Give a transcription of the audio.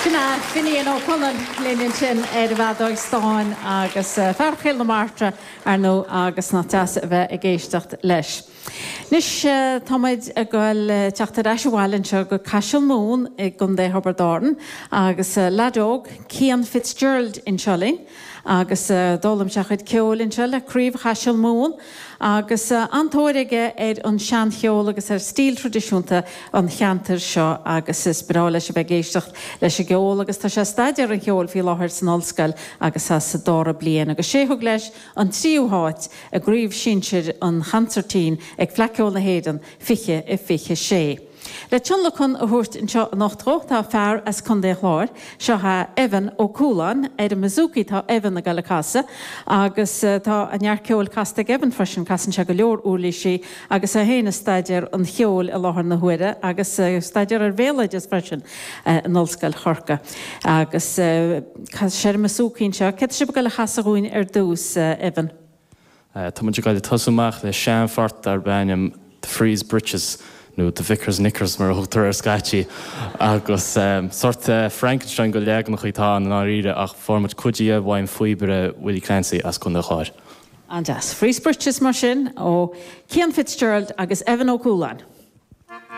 Sin é Finian Ó Conaill linn ansin ar an bhfeadóig stáin agus fear Chill na Martra, ar ndóigh, agus nach deas a bheith ag éisteacht leis. Anois tá muid ag goil teacht ar ais abhaile anseo go Caiseal Mumhan i gContae Thiobraid Árann agus leaid óg, Cian Fitzgerald anseo linn agus d'fhoghlaim sé a chuid ceoil anseo le Craobh Chaiseal Mumhan Agus an-tóir aige ar an seancheol agus ar stíl traidisiúnta an cheantair seo agus is breá leis a bheith ag éisteacht leis an gceol agus tá sé ag staidéar an cheoil faoi láthair san ollscoil agus é sa dara bliain agus sé thug leis an tríú háit i gCraobh Shinsir an Chonsairtín ag Fleadh Cheoil na hÉireann 2026. Le tionlacan a thabhairt anseo anocht dhó tá fear as Contae an Chláir. Seo é Evan Ó Cualáin. Ar an mbouzouki tá Evan ag dul a casadh agus tá neart ceoil casta ag Evan freisin. Casann sé go leor uirlísí agus é féin ag staidéar an cheoil i láthair na huaire agus ag staidéar ar bhéaloideas freisin in Ollscoil Chorcaí. Agus casann sé ar an mbouzouki anseo. Céard tá sibh ag dul a chasadh dhúinn ar dtús, Evan? Tá muid ag dul ag tosú amach le seanphort darb ainm The Frieze Breeches, nó The Vicar's Knickers mar a thugtar air scaití, agus sórt Frankenstein de leaganacha atá ann i ndáiríre ach fuair muid cuid dhe uaim phíobaire Willie Clancy as Contae an Chláir. An-deas. Frieze Breeches mar sin ó Cian Fitzgerald agus Evan Ó Cualáin.